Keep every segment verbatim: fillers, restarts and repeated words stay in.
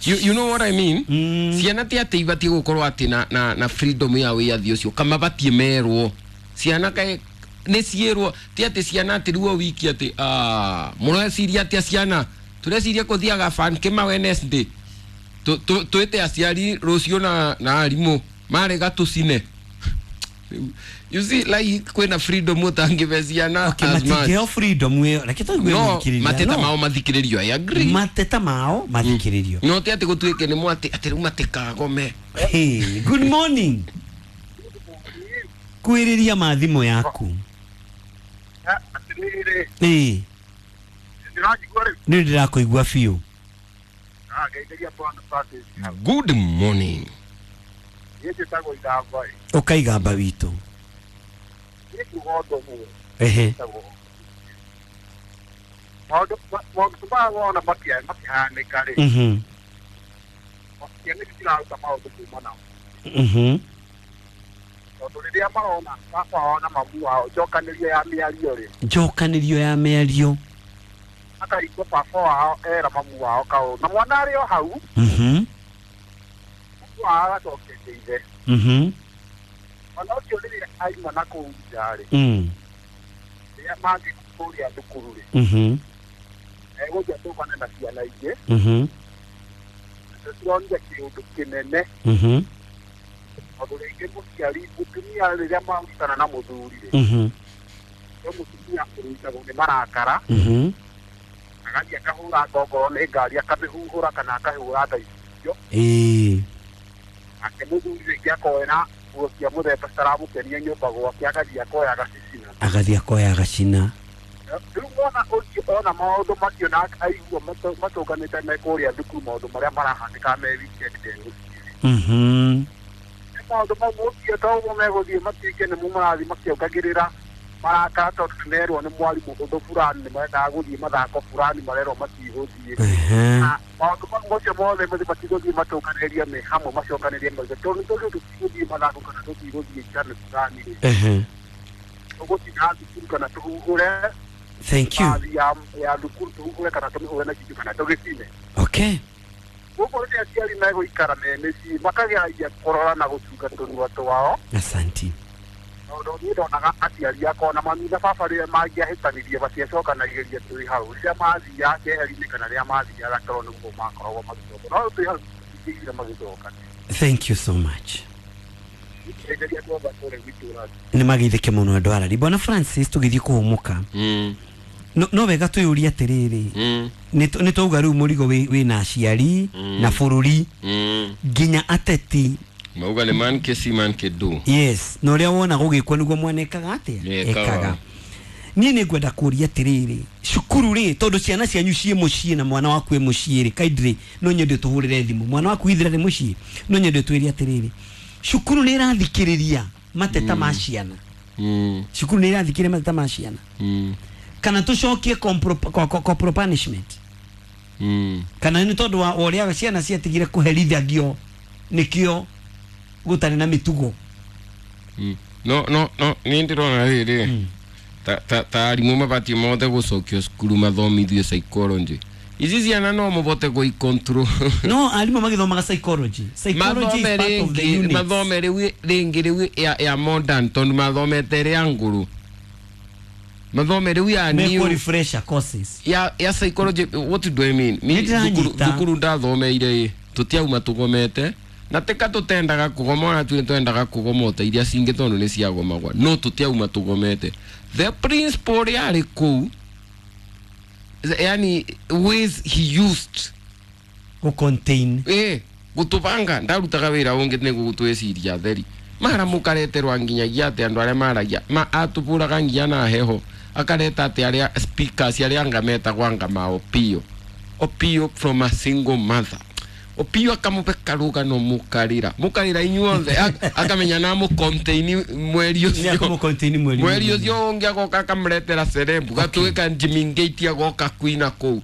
you, you know what I mean? Mm. Ciana ti atĩ ibatiĩ gũkorwo atĩ na, na, na freedom ya wĩyathi ũcio, kama batiĩ merwo ciana kaĩ nĩ ciĩrwo, ti atĩ ciana atĩ rĩu o wiki atĩ ah, mũreciria atĩa ciana tũreciria kũthiaga fan kĩma Wednesday, twĩte aciari rũciũ na, na arimũ marega tũcine. You see, like kwĩna freedom ũtangĩbe ciana Okay, as much. Matingĩheo freedom ĩyo, reke tũigue No mũthikĩrĩria. Mateta No. mao mathikĩrĩrio, I agree. Mateta mao mathikĩrĩrio. No ti atĩ gũtuĩke nĩ mwatĩ atĩ rĩu matikagome. Hey, good morning, kwĩrĩria mathimũ yaku. Atĩrĩrĩ. Ĩĩ. Ndĩranjigua rĩu? Nĩ ndĩrakũigua biũ. Ngeithĩria Bwana Francis. Good morning. Niĩ njĩtagwo Igamba ĩ. Ũkaigamba witũ. Niĩ kuga ũndũ ũmwe. Ehe. Njĩtagwo maũndũ maũndũ maya wona makia- makĩhanĩka rĩ, Mhm. ciana ici ciraruta maũndũ kuma nao, Mhm. tondũ rĩrĩa marona baba wao na mamu wao njokanĩrio ya mĩario rĩ, njokanĩrio ya mĩario, akaigua baba wao era mamu wao kaũndũ na mwana arĩ o hau, Mhm. mamu wao agacokeria ithe. Mhm. Mwana ũcio rĩrĩa aima na kũu nja rĩ, Mm. rĩrĩa mangĩ kũrĩa thukuru rĩ, Mhm. egũthiĩ atũngane na ciana ingĩ. Mhm. Nacio cironire kĩũndũ kĩnene, Mhm. tondũ rĩngĩ mũciari mũtumia rĩrĩa marutana na mũthuri rĩ, Mhm. no mũtumia ũrutagwo nĩ marakara, Mhm. agathiĩ akahũra ngongoro nĩ ngari, akamĩhuhũra kana akahũra nda icio. Ĩĩ. Nake mũthuri rĩngĩ akoera nguo cia mũthemba citaramũkenia nyũmba gwake, agathiĩ akoya agacicina. Agathiĩ akoya agacina. Rĩu mwana ũcio ona maũndũ macio na aigua matũ- matũnganĩte me kũrĩa thukuru, maũndũ marĩa marahanĩka me weekend ndegũciĩ. Mhm. Maũndũ mau mũciĩ to ũguo megũthiĩ matuĩke nĩmo marathiĩ makĩongagĩrĩra marakara, tondũ nĩmerwo nĩ mwarimũ ũndũ fulani, nĩ marendaga gũthiĩ mathako fulani, marerwo matigũthiĩ. Ehe. Na maũndũ mau macio mothe mathi matigũthiĩ matũnganĩrie me hamwe, macokanĩrie mauge tondũ tondũ tũtigũthiĩ mathako kana tũtigũthiĩ njano fulani rĩ, Ehe. tũgũtinda thukuru kana tũhuhũre Thank you. bathi ya ya thukuru, tũhuhũre kana tũmĩhũre na kindu kana tũgĩcine. Okay. Koguo rĩrĩa aciari megũikara me mĩciĩ makageragia kũrora na gũcunga tũnua twao, Asanti. tondũ niĩ ndonaga aciari akwa na mami na baba rĩrĩa mangĩahĩtanirie matiacokanagĩria twĩ hau, rĩrĩa mathiaga keheri-inĩ kana rĩrĩa mathiaga toro nĩguo makoragwo magĩcoka, no twĩ hau tũtingĩiguire magĩcokania. Thank you so much. Ngeithĩria andũ othe a kũrĩa gwitũ. Nĩ mageithĩke mũno andũ arari. Bwana Francis, tũgĩthiĩ kũhũmũka, Mm. no, no wega twĩyũrie atĩrĩrĩ, Mm. nĩ tũ- nĩ twauga rĩu mũrigo wĩ wĩna aciari Mm. na bũrũri, Mm. nginya ateti. Mauga nĩ man ke si man ke do. Yes, na ũrĩa wona gũgĩkwo nĩguo mwana ekaga atĩa? Ekaga. Ekaga. Niĩ nĩ ngwenda kũria atĩrĩrĩ, cukuru rĩ, tondũ ciana cianyu ciĩ mũciĩ na mwana waku ĩ mũciĩ rĩ, kindly no nyende tũhũrĩre thimũ, mwana waku ithira nĩ mũciĩ, no nyende twĩre atĩrĩrĩ, cukuru nĩ ĩrathikĩrĩria mateta ma ciana? Mm. Cukuru nĩ ĩrathikĩrĩria mateta ma ciana, Mm. kana tũcokie corporal co- co- corporal punishment, Mm. kana nĩ tondũ wa ũrĩa ciana ciatigire kũherithagio nĩkĩo gũtarĩ na mĩtugo? Mm. no no no niĩ ndĩrona rĩrĩ, ta ta ta arimũ mabatiĩ mothe gũcokio cukuru mathomithio psychology. Ici ciana no mũbote gũi control. No arimũ magĩthomaga psychology. Psychology is Mathome part of the rĩngĩ units. Mathome rĩu rĩngĩ rĩu ya, ya modern, tondũ mathomete rĩa ngũrũ, mathome rĩu ya Mekwo new refresher courses. ya ya psychology. What do I mean? Ni Nĩ ndĩranyita. thukuru thukuru ndathomeire ĩ, tũtiauma tũgomete na tika tũtendaga kũgoma, ona tuĩ twendaga kũgoma ota iria cingĩ tondũ nĩ ciagomagwa, no tũtiauma tũgomete. The principal yarĩ kũu, yani ways he used Gũ contain. Ĩ gũtũbanga, ndarutaga wĩra ũngĩ nĩguo gũtwĩciria theri mara mũkareterwa nginyagia atĩ andũ arĩa maragia ma atũbũraga nginya na heho, akareta atĩ arĩa speakers arĩa anga metagwo anga ma Opio, Opio from a single mother, Opio akamũbe karũgano mũkarĩra mũkarĩra inyuothe. Ak- akamenya na mũcontain mweri Nĩ ũcio. akũmũ contain mweri. Mweri ũcio ũngĩ agoka akamũretera cerebu gatwĩka Jimmy Ngate, agoka kuina kũu,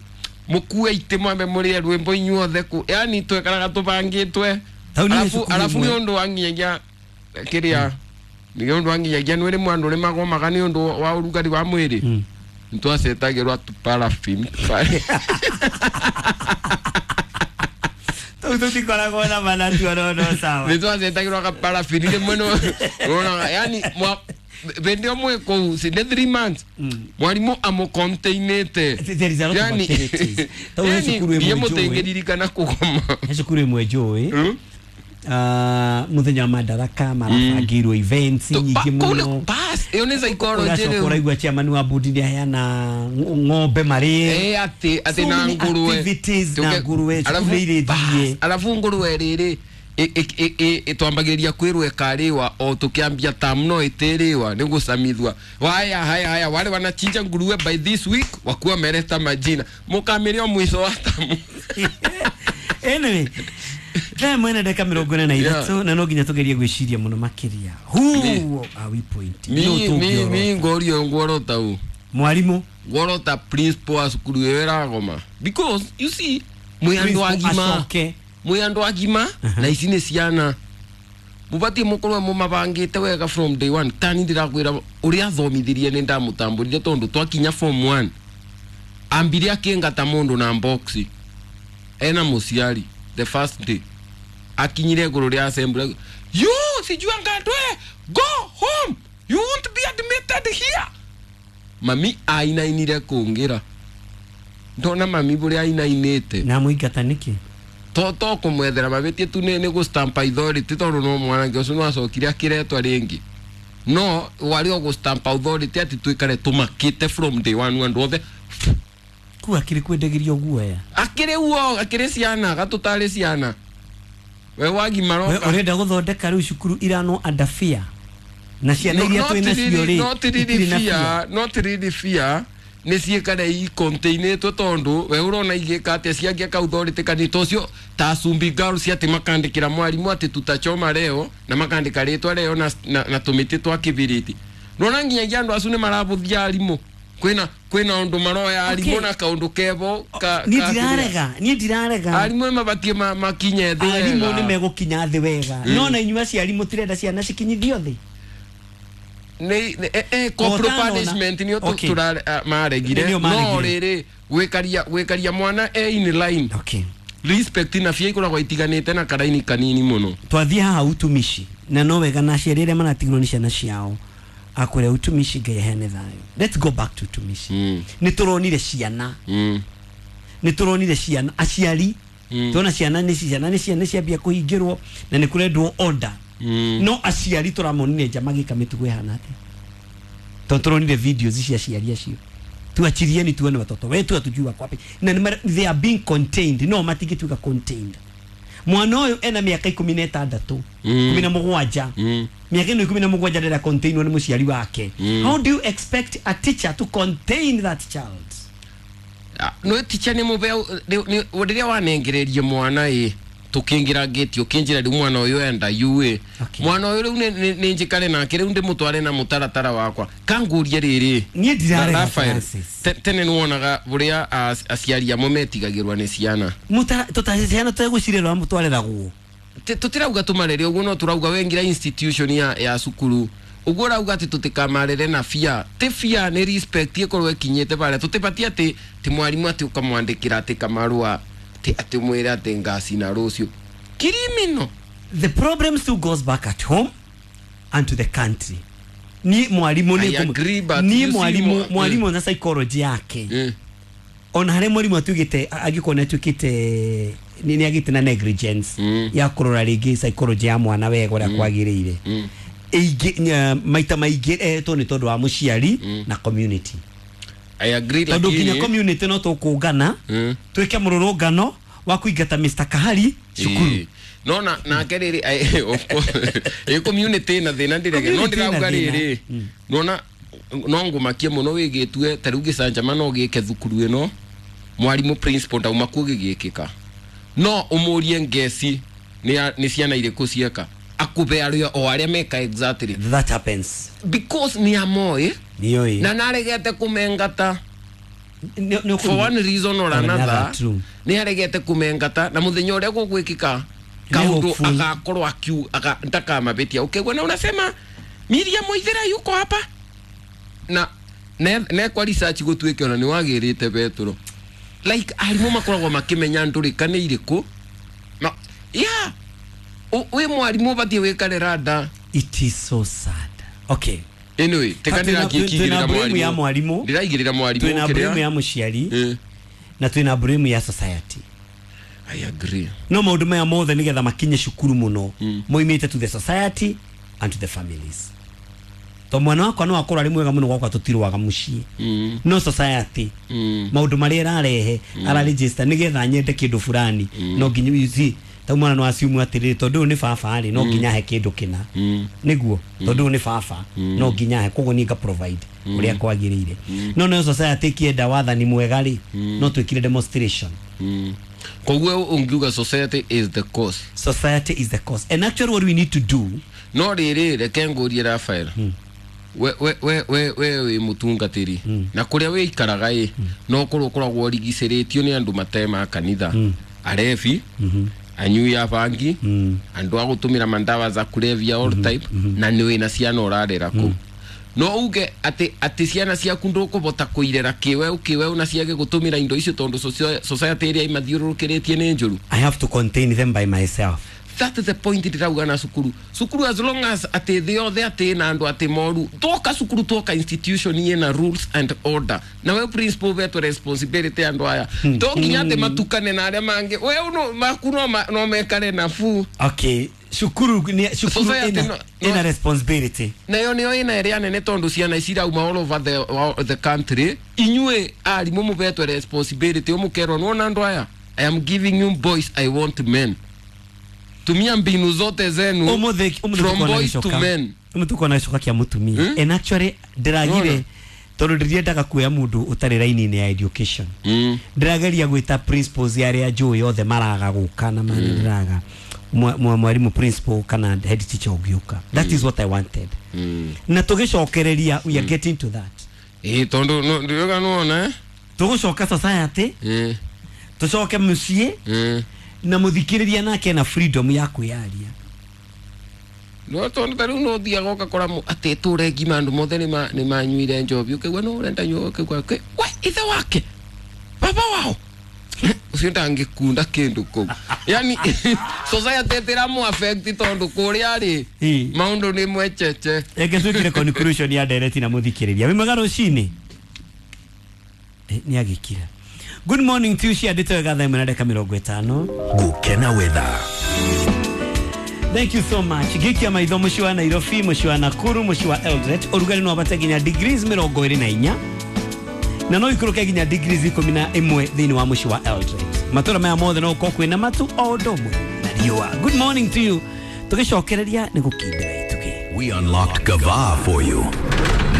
mũkue itĩ mwambe mũrĩe rwĩmbo inyuothe kũ, yani twekaraga tũbangĩtwe. Tau nĩ Arabu cukuru arabu ĩmwe. nĩ ũndũ wa nginyagia kĩrĩa nĩ ũndũ wa nginyagia nĩ rĩmwe andũ nĩ magomaga nĩ ũndũ wa ũrugarĩ wa mwĩrĩ, Mm. nĩ twacetagĩrwo tu paraffin. Kuu tutikoragwo na manatu no sawa. Nĩ twacetagĩrwo kaparabini rĩmwe nĩ yani mwa bende omwe kũu si nĩ three months mwarimũ amũcontainĩte. There is a lot of activities. Tau he cukuru ĩmwe ndiĩ njũĩ. Mũtĩngĩririkana kũgoma. He cukuru ĩmwe njũĩ ah, muthenya wa Madaraka marabangĩirwo events nyingĩ mũno. Bas ĩyo nĩ psychology. Ũracoka Rĩu ũraigua chairman wa bodi nĩ aheana ng'ombe marĩe. Eh, atĩ atĩ So na many nguruwe activities na Tuge- nguruwe, cukuru alafu- nĩ irĩthiĩ. bas, alafu nguruwe rĩrĩ twambagĩrĩria kwĩrwo ĩkarĩwa o tũkĩambia tam no ĩtĩrĩwa nĩ gũcamithwa waya haya haya wale wanachinja nguruwe by this week wakuwa meleta majina mũkamĩrĩa o mwisho wa tamu. Anyway, thaa mwena ndagĩka mĩrongo ĩna na ithatũ na no nginya tũgerie gwĩciria mũno makĩria. Who are we pointing? mi Nũ mi tũngĩorota? Mi ngorio ngworota u Mwarimũ ngworota principal wa cukuru ĩyo ĩragoma because you see mwĩ andũ Principal agima acoke. Mwĩ andũ agima na ici nĩ ciana mũbatiĩ mũkorwo mũmabangĩte wega from day one. Tani ndĩrakwĩra ũrĩa athomithirie nĩ ndamũtambũrire tondũ twakinya form one ambire akĩngata mũndũ na box ena mũciari. The first day akinyire igũrũ rĩa assembly, "You sijua ngatwe, go home, you won't be admitted here." Mami ainainire kũngĩra ndona mami bũrĩa ainainĩte. Na mũingata nĩkĩ? To to kũmwethera mabĩtie tu nĩ nĩ gũ stamp authority tondũ no mwanake ũcio no acokire akĩretwa rĩngĩ no warĩ o gũ stamp authority atĩ tuikare tũmakĩte from day one andũ othe. Kuu akĩrĩ kwendagĩrio guoya. Akĩrĩ uo akĩrĩ ciana gatũtarĩ ciana we wagimara. We ũrenda gũthondeka rĩu cukuru irano under fear na ciana iria twĩ nacio rĩ not really itirĩ na fear, not really fear, nĩ ciĩkare icontainĩtwo tondũ we ũrona igĩka atĩa ciangĩaka authority kanitha ũcio ta Sumbi Girls atĩ makandĩkĩra mwarimũ atĩ tutachoma leo na makandĩka rĩtwa leo na, na, na tũmĩtĩ twa kĩbiriti nona nginyagia andũ acu nĩ marabũthia arimũ kwĩna kwĩna ũndũ maroya arimũ Okay. na kaũndũ kebo ka, Niĩ ka- ndirarega, niĩ ndirarega. Arimũ nĩ mabatiĩ ma- makinye thĩ Arimũ wega. nĩ megũkinya thĩ wega no na inyuĩ aciari mũtirenda ciana cikinyithio thĩ. Nĩ nĩ- eh, eh, corporal Otano na- punishment nĩyo tu- Okay. tura- ah, maregire. Nĩyo No maregire. rĩrĩ gwĩkaria gwĩkaria mwana e in line Okay. respect na fear ikoragwo itiganĩte na karaini kanini mũno. Twathiĩ haha utumishi na no wega na aciari arĩa maratigirwo nĩ ciana ciao akũrĩa utumishi Ngai aheane thayũ. Let's go back to utumishi. Mm. Nĩ tũronire ciana mm. nĩ tũronire ciana aciari Mm. tuona ciana nĩ ciana nĩ ciana ciambia kũhingĩrwo na nĩ kũrendwo order Mm. no aciari tũramonire nja magĩka mĩtugo ĩhana atĩa tondũ tũronire videos cia aciari acio tuachirieni tuone watoto wetu hatujui wako wapi na nĩ mara- they are being contained no matingĩtuĩka contained mwana ũyũ ena mĩaka ikũmi na ĩtandatũ Mm. ikũmi na mũgwanja Mm. mĩaka ĩno ikũmi na mũgwanja ndĩra containwo nĩ mũciari wake. Mm. How do you expect a teacher to contain that child? Ah, no ticha nĩ mũbe rĩrĩa wanengererie mwana ĩ tũkĩingĩra ngĩti ũkĩnjĩra rĩu mwana ũyũ enda yu ĩ Okay. mwana ũyũ rĩu nĩ- nĩ nĩ njikare nake rĩu ndĩmũtware na mũtaratara wakwa kangũrie rĩrĩ. Niĩ ndirarega, Raphael, Francis. te- tene nĩ wonaga bũrĩa as- aciari amwe metigagĩrwa nĩ ciana. Mũtara- tũta- ciana tũtegũcirera mũtwareragwo. Ti- tũtirauga tũmarere ũguo no tũrauga wengira institution ya, ya cukuru ũguo ũrauga atĩ tũtikamarere na fear ti fear nĩ respect ĩkorwo ĩkinyĩte barĩa tũtibatiĩ atĩ ti mwarimũ atĩ ũkamwandĩkĩra atĩ kamarũa atĩ atĩ ũmwĩre atĩ ngacina rũciũ criminal. The problem still goes back at home and to the country. Ni mwalimu I ni agree, but ni you see mwalimu mwa- mwalimu na psychology yake mm. ona harĩa mwalimu atuĩkĩte angĩkorwo nĩ atuĩkĩte nĩ nĩ agĩte na negligence Mm. ya kũrora rĩngĩ psychology ya mwana wega ũrĩa kwagĩrĩire Mm. ĩingĩ nya- maita maingĩ etwo nĩ tondũ wa mũciari na community. I agree Tondũ nginya lakini community no tũkũngana Mm. twĩke mũrũrũngano wa kũingata Mister Kahari cukuru. Ĩĩ. No na nake rĩrĩ ai- of course ĩ community na thĩna ndĩrege no Community ĩna ndĩrauga thĩna. rĩrĩ nona no ngũmakie mũno wĩgĩtue ta rĩu gĩcanjama no gĩke thukuru ĩno mwarimũ principal ndauma kuo gĩgĩkĩka no ũmũrie ngeci nĩ a- nĩ ciana irĩkũ cieka akũbe arĩa o arĩa meka exactly. That happens. Because nĩ amoĩ nĩoĩ na naregete kũmengata Nĩ- nĩ for one reason or Or another, another. True. Nĩ aregete kũmengata na mũthenya ũrĩa gũgwĩkĩka Nĩ kaũndũ hopeful. agakorwo akiu aga, ndakamabĩtia ũkĩgua na unasema Miriam Waithera yuko hapa na ne nekwa research gũtuĩke ona nĩ wagĩrĩte Petro like arimũ makoragwo makĩmenya ndũrĩka nĩ irĩkũ Ma- Yeah, wi mwarimu batie wikare rada. It is so sad. Okay, anyway, tekandira kikigirira mwarimu ya mwarimu ndiraigirira mwarimu twina blame ya muciari eh. Na twina blame ya society. I agree. No maundu maya mothe nigetha makinye cukuru muno mm. moimite to the society and to the families. To mwana wakwa no akorwo ari mwega muno gwakwa tutirwaga mucii mm. no society mm. maundu maria irarehe mm. ara register nigetha nyende kindu fulani mm. no nginya you see ta mwana no assume atiriri tondu ni baba ri no nginya he kindu kina mm. niguo tondu ni baba mm. no nginya he koguo ni nga provide mm. uria kwagirire mm. no no society kienda wathani mwega ri mm. no twikire demonstration mm. Koguo ungiuga society is the cause. Society is the cause. And actually what we need to do no riri reke ngurie Rafael mm. we we we we we we mutungatiri mm. na kuria we ikaraga i mm. no korwo koragwo rigiceretio ni andu matema kanitha mm. arebi mm -hmm. anyui ya bangi mm. andu agutumira mandawa za kulevya all mm -hmm. type mm -hmm. na niwe na ciana urarera ku mm. no uge ati ati ciana ciaku ndukubota kuirera kiweu kiweu na ciage gutumira indo icio tondu society iria imathiururukiritie ni njuru. I have to contain them by myself. That is the point ndirauga na cukuru cukuru as long as ati thi othe ati na andu ati moru toka cukuru toka institution ina rules and order na we principal betu responsibility andu aya to nginya ati matukane na aria mangi we no maku no no mekare nafu. Okay, cukuru ni cukuru ina, no, ina responsibility na yo niyo ina ria nene tondu ciana icirauma all over the, the country inyue arimu mubetwe responsibility umukerwo nona andu aya I am giving you boys, I want men. Tumia mbinu zote zenu umuthe from boys to men. Umutuko na gicoka kia mutumia hmm? And actually ndiragire tondu ndiriendaga kuoya mundu utari raini-ini ya education mm. Ndirageria gwita principals aria njui othe maraga guka na mani ndiraga mwarimu principal kana head teacher ungiuka. That mm. is what I wanted mm. Na tugicokereria we are mm. getting to that eh tondu ndiroga nuona eh tugucoka society eh tucoke mucii eh na muthikiriria nake na freedom ya kwiyaria no tondu tariu no thiaga ukakora ati ture ngima andu mothe ni manyuire njobi ukigua no urenda nyua ukigua we ithe wake baba wao ucio ndangikunda kindu kuu yani society tiramu affect tondu kuria ri maundu ni mwecheche. Eke twikire conclusion ya direct na muthikiriria wimaga rucini ni agikira. Good morning to you. Ciandĩtwo wega thaa ĩmwe na ndagĩka mĩrongo ĩtano. Gukena weather. Thank you so much. Gikia maitho mũciĩ wa Nairobi, mũciĩ wa Nakuru, mũciĩ wa Eldoret ũrugarĩ no wambate nginya degrees mĩrongo ĩrĩ na inya na no ikũrũke nginya degrees ikũmi na ĩmwe thĩinĩ wa mũciĩ wa Eldoret. Matũra maya mothe no gũkorwo kwĩna matu o ũndũ ũmwe na riũa. Good morning to you. Tũgĩcokereria nĩ gũkindĩra itugĩ. We unlocked Gava for you.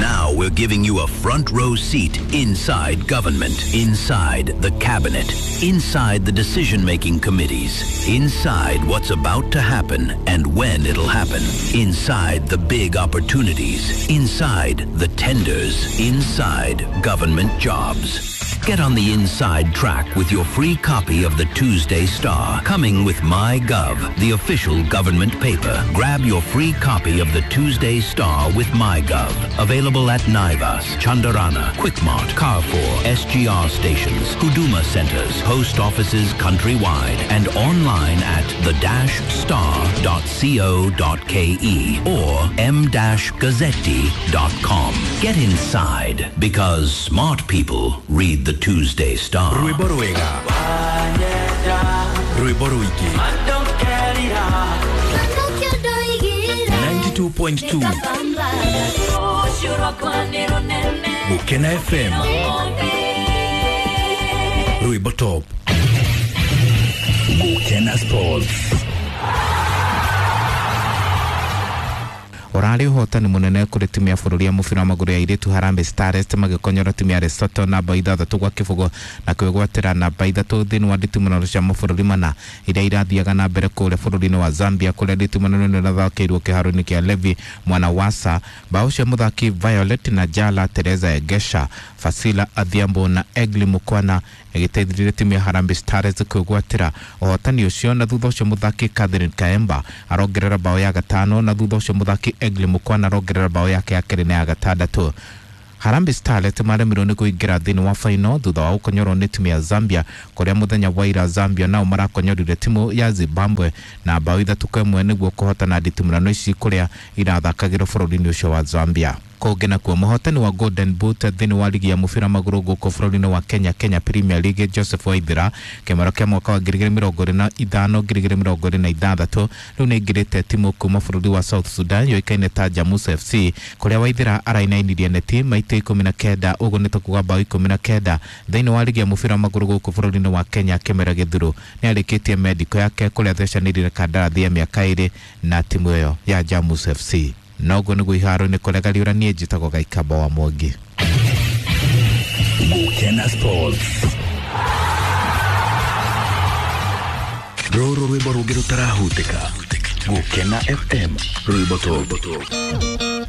Now we're giving you a front row seat inside government, inside the cabinet, inside the decision-making committees, inside what's about to happen and when it'll happen, inside the big opportunities, inside the tenders, inside government jobs. Get on the inside track with your free copy of the Tuesday Star, coming with MyGov, the official government paper. Grab your free copy of the Tuesday Star with MyGov. Available at Naivas, Chandarana, Quickmart, Carrefour, S G R stations, Huduma centers, post offices countrywide, and online at the dash star dot co dot ke or m dash gazzetti dot com. Get inside, because smart people read the Tuesday Star. Rwĩmbo rwega. Rwĩmbo rũingĩ. ninety-two point two Gukena F M. Rwĩmbo top. Gukena Sports. Orari uhotani munene kuri timu ya bururi ya mubira wa maguru ya airitu Harambee Stars magikonyora timu ya Lesotho namba ithathatũ gwa kĩbũgũ na kwĩgwatĩra namba ithatũ thĩinĩ wa nditimũrano cia mabũrũri mana iria irathiaga na mbere kũrĩa bũrũri-inĩ wa Zambia kũrĩa nditimũrano ĩno ĩrathakĩirwo kĩharo-inĩ kĩa Levi Mwanawasa. Bao cia mũthaki Violet na Jala Teresa Egesha, Fasila Adhiambo na Egli Mukwana ĩgĩteithĩrĩria timu ya Harambee Stars kwĩgwatĩra ũhotani ũcio, na thutha ũcio mũthaki Catherine Kaemba arongerera bao ya gatano, na thutha ũcio mũthaki Egli Mukwana arongerera bao yake ya kerĩ na ya gatandatũ. Harambee Starlets maremirwo nĩ kũingĩra thĩinĩ wa final thutha wa gũkonyorwo nĩ timu ya Zambia, kũrĩa mũthenya wa ira Zambia nao marakonyorire timu ya Zimbabwe na bao ithatũ kwa ĩmwe nĩguo kũhotana nditimũrano ici kũrĩa irathakagĩrwo bũrũri-inĩ ũcio wa Zambia. Kũngĩ nakuo, mũhotani wa Golden Boot thĩinĩ wa ligi ya mũbira magũrũ gũkũ bũrũri-inĩ wa Kenya, Kenya Premier League, Joseph Waithera, kĩmero kĩa mwaka wa ngiri igĩrĩ mĩrongo ĩrĩ na ithano ngiri igĩrĩ mĩrongo ĩrĩ na ithathatũ, rĩu nĩ aingĩrĩte timu kuma bũrũri wa South Sudan yũĩkaine ta Jamus F C, kũrĩa Waithera arainainirie neti maita ikũmi na kenda, ũguo nĩ ta kuga bao ikũmi na kenda thĩinĩ wa ligi ya mũbira magũrũ gũkũ bũrũri-inĩ wa Kenya. Kĩmera gĩthuru nĩ arĩkĩtie mendiko yake kũrĩa athecanĩrire kandarathi ya mĩaka ĩrĩ na timu ĩyo ya Jamus F C. Noguo nĩguo iharo-inĩ kũrĩa Gariũra, niĩ njĩtagwo Gaikamba wa Mwangi. Gukena Sports. Rũrũ rwĩmbo rũngĩ rũtarahutĩka. Gukena F M, rwĩmbo top.